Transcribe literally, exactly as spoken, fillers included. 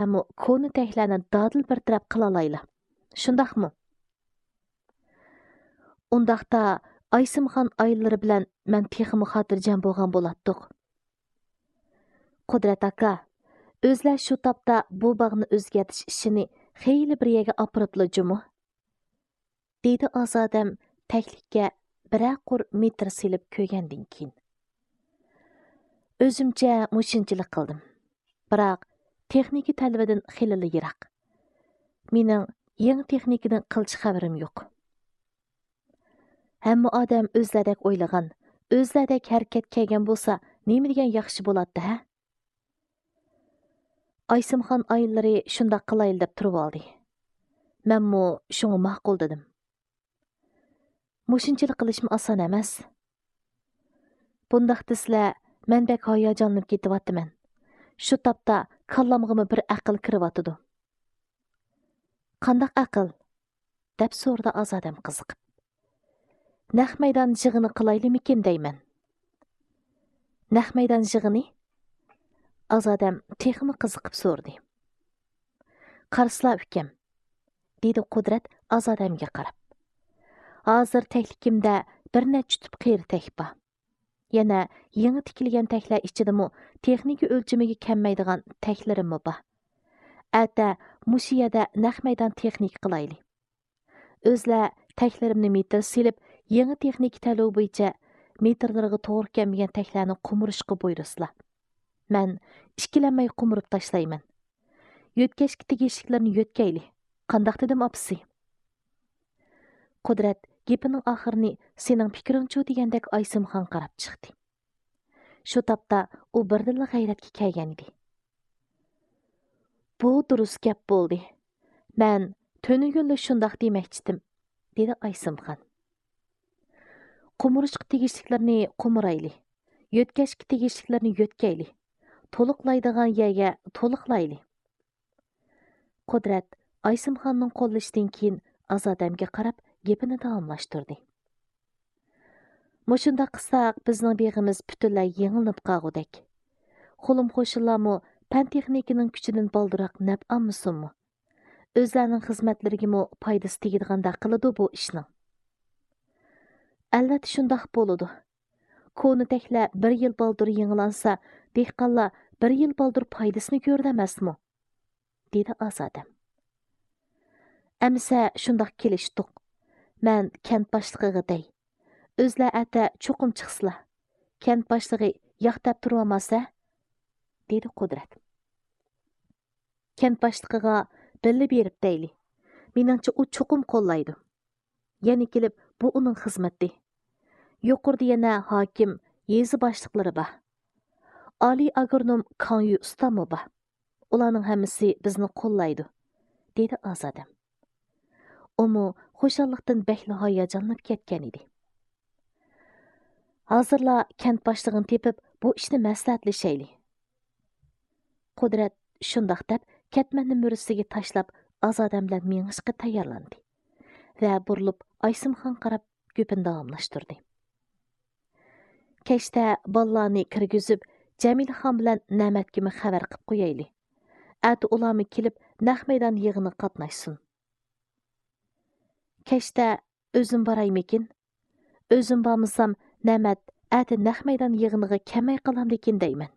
ئەمما كونا تەكلەرنى دادىل بىر تەرەپ قىلالايلى. شۇنداقمۇ؟ ئۇنداقتا ئايسىمخان ئائىلىلىرى بىلەن مەن تېخىمۇ خاتىرجەم بولغان بولاتتۇق. قۇدرەت ئاكا، ئۆزلەر شۇ تاپتا بۇ باغنى ئۆزگەرتىش ئىشىنى خېلى بىر يەرگە ئاپىرىپلا جۇمۇ؟ دېدى ئازادەم تەكلىككە بىرەر قۇر مېتىر سېلىپ كۆرگەندىن كېيىن. ئۆزۈمچە مۇشۇنچىلىك قىلدىم. بىراق، تېخنىكا تەلىپىدىن خېلىلا يىراق. مېنىڭ يېڭى تېخنىكىدىن قىلچە خەۋىرىم يوق. ھەممە ئادەم ئۆزلەردەك ئويلىغان، ئۆزلەردەك ھەرىكەت كەلگەن بولسا، نېمە دېگەن ياخشى بولاتتى، ھە؟ ئايسىمخان ئائىلىلىرى شۇنداق قىلايلى دەپ تۇرۇۋالدى. مەنمۇ شۇڭا ماقۇل دېدىم. مۇشۇنچىلىك قىلىشمۇ ئاسان ئەمەس. بۇنداق دېسىلە، مەن بەك ھاياجانلىنىپ كېتىۋاتىمەن. شۇ تاپتا كاللامغىمۇ بىر ئەقىل كىرىۋاتىدۇ. قانداق ئەقىل؟ دەپ سورىدى ئازادەم قىزىقىپ. نەق مەيدان يىغىنى قىلايلىمىكىن دەيمەن. نەق مەيدان يىغىنى؟ ئازادەم تېخىمۇ قىزىقىپ سورىدى. قارىسىلا ئۇكام، دېدى قۇدرەت ئازادەمگە قاراپ. ھازىر تەكلىكىمدە بىر نەچچە تۈپ قېرى تەك بار. يەنە يېڭى تىكىلگەن تەكلەر ئىچىدىمۇ تېخنىكا ئۆلچىمىگە كەلمەيدىغان تەكلىرىممۇ بار. ئەتە مۇشۇ يەردە نەق مەيدان تېخنىكا قىلايلى. ئۆزلەر تەكلىرىمنى مېتىر سېلىپ، يېڭى تېخنىكا تەلىپى بويىچە مېتىرلىرىغا توغرا كەلمىگەن تەكلەرنى قومۇرۇشقا بۇيرۇسىلا. مەن ئىككىلەنمەي قومۇرۇپ تاشلايمەن. يۆتكەشكە تېگىشلىكلىرىنى يۆتكەيلى. قانداق دېدىم، ئاپىسى؟ قۇدرەت گېپىنىڭ ئاخىرىنى «سېنىڭ پىكرىڭچۇ؟» دېگەندەك ئايسىمخان قاراپ چىقتى. شۇ تاپتا ئۇ بىردىنلا غەيرەتكە كەلگەنىدى. «بۇ دۇرۇس گەپ بولدى. مەن تۈنۈگۈنلا شۇنداق دېمەكچىدىم»، دېدى ئايسىمخان. «قومۇرۇشقا تېگىشلىكلىرىنى قومۇرايلى. يۆتكەشكە تېگىشلىكلىرىنى يۆتكەيلى. تولۇقلايدىغان يەرگە تولۇقلايلى.» قۇدرەت ئايسىمخاننىڭ قوللىشىدىن كېيىن ئازادەمگە قاراپ گېپىنى داۋاملاشتۇردى. «مۇشۇنداق قىلساق، بىزنىڭ بېغىمىز پۈتۈنلەي يېڭىلىنىپ قالغۇدەك. خۇلۇم قوشۇنلارمۇ پەن تېخنىكىنىڭ كۈچىدىن بالدۇرراق نەپ ئالمىسۇنمۇ؟ ئۆزلەرنىڭ خىزمەتلىرىگىمۇ پايدىسى تېگىدىغاندەك قىلىدۇ بۇ ئىشنىڭ.» «ئەلۋەتتە شۇنداق بولىدۇ. كونا تەكلەر بىر يىل بالدۇر يېڭىلانسا، دېھقانلار بىر يىل بالدۇر پايدىسىنى كۆرىدۇ ئەمەسمۇ؟» دېدى ئازادەم. «ئەمىسە شۇنداق كېلىشتۇق. مەن كەنت باشلىقىغا دەي. ئۆزلەر ئەتە چوقۇم چىقسىلا. كەنت باشلىقى ياق دەپ تۇرۇۋالماسە؟» دېدى قۇدرەت. «كەنت باشلىقىغا بىللە بېرىپ دەيلى. مېنىڭچە ئۇ چوقۇم قوللايدۇ. يەنە كېلىپ بۇ ئۇنىڭ خىزمىتى. يۇقىرىدا يەنە ھاكىم، يېزا باشلىقلىرى بار. ئالىي ئاگرونوم كاڭيۈ ئۇستاممۇ بار. ئۇلارنىڭ ھەممىسى بىزنى قوللايدۇ»، دېدى ئازادەم. ئۇمۇ خۇشاللىقتىن بەكلا ھاياجانلىنىپ كەتكەن ئىدى. «ھازىرلا كەنت باشلىقىنى تېپىپ، بۇ ئىشنى مەسلىھەتلىشەيلى.» قۇدرەت شۇنداق دەپ، كەتمەننى مۈرىسىگە تاشلاپ، ئازادەم بىلەن مېڭىشقا تەييارلاندى ۋە بۇرۇلۇپ ئايسىمخان قاراپ گېپىنى داۋاملاشتۇردى. «كەچتە بالىلارنى كىرگۈزۈپ، جەمىلىخان بىلەن نەمەتكىمۇ خەۋەر قىپ قويايلى. ئەتە ئۇلارمۇ كېلىپ، نەق مەيدان يىغىنىغا قاتناشسۇن.» «كەچتە ئۆزۈم بارايمىكىن؟ ئۆزۈم بارمىسام، نەمەت ئەتە نەق مەيدان يىغىنىغا كەلمەي قالامدىكىن دەيمەن.»